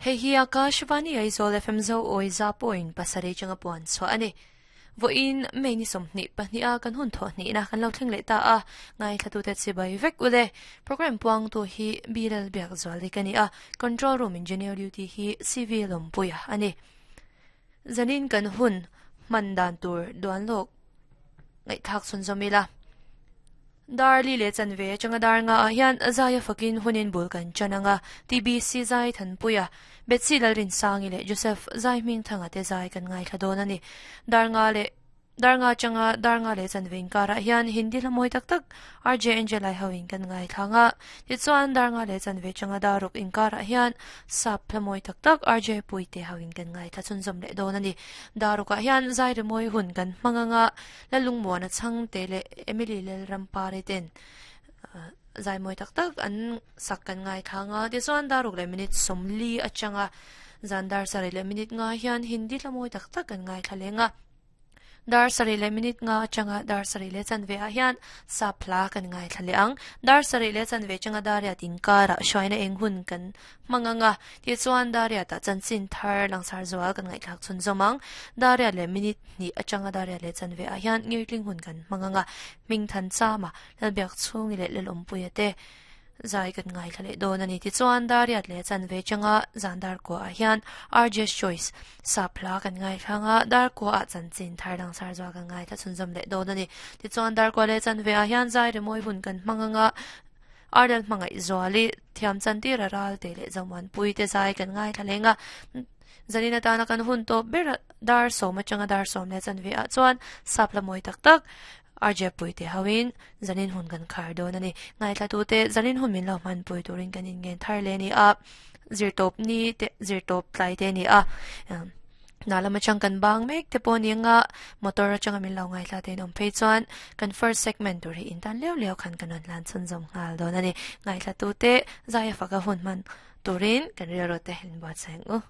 Hei hi Akashvani Aizawl FM Zo Awi za point pasarih changa puan chhuah a ni. Vawiin May ni 22 a kan hun thawh hnihna kan lo thleng leh ta a, ngaithlatute chibai vek u le. Programme puangtu hi Bilal Biakzuali ka ni a, Control Room Engineer Duty hi CV Lawmpuia a ni. Zanin kan hun hman dan tur duan lawk ngaihthlak chhunzawm ila. Dar li leh chanve atanga dar nga ah hian Zaia fakin hunin bul kan chan ang a, TBC Zai Thanpuia, Betsy Lalrinsangi leh Joseph Zai Hmingthanga te zai kan ngaithla dawn a ni. Dar nga leh Dar nga atanga dar nga leh chanve inkarah hian Hindi hla mawi tak tak RJ Angelai hoin kan ngaithla ang a, tichuan dar nga leh chanve atanga dar ruk inkarah hian Sap hla mawi tak tak RJ Puite hoin kan ngaithla chhunzawm leh dawn a ni. Dar rukah hian zai rimawi hun kan hmang ang a, Lalungmuana Chhangte leh Emily Lalrampari ten zai mawi tak tak an sak kan ngaithla ang a, tichuan dar ruk leh minute 40 atanga zan dar sarih leh minute nga hian Hindi hla mawi tak tak kan ngaithla leng a. Dar sarih leh minute nga atanga dar sarih leh chanve ah hian sap hla kan ngaithla leh ang. Dar sarih leh chanve atanga dar riat inkarah hruaina eng hun kan hmang ang a, tichuan dar riatah chanchin thar langsar zual kan ngaihthlak chhunzawm ang. Dar riat leh minute hnih atanga dar riat leh chanve ah hian ngirtling hun kan hmang ang a, Hmingthan Chama, Lalbiak Chhungi leh Lalawmpuia te zai kan ngaithla leh dawn a ni. Tichuan dar riat leh chanve atanga zan dar kua ah hian RJ's Choice sap hla kan ngaithla ang a, dar kua ah chanchin thar langsar zual kan ngaithla chhunzawm leh dawn a ni. Tichuan dar kua leh chanve ah hian zai rimawi hun kan hmang ang a, Ardal hmangaih zuali thiam chantir a ral te leh Zomuanpui te zai kan ngaithla leng a, zanin atana kan hun tawp ber a dar sawm atanga dar sawm leh chanve ah chuan sap la mawi tak tak RJ Puite hoin zanin hun kan khar dawn a ni. Ngaithla tute zanin hun min lo hmanpui turin kan inngen thar leh a ni a, zirtawp ni te zirtawp tlai te a ni a. Hna lam atang kan bang mek te pawh ni anga motor atanga min lo ngaithla te in awm phei chuan kan first segment tur hi in tan leu leu khan kan rawn hlan chhunzawm nghal dawn a ni. Ngaithla tute Zaia faka hun hman turin kan rilru te in buatsaih ang u.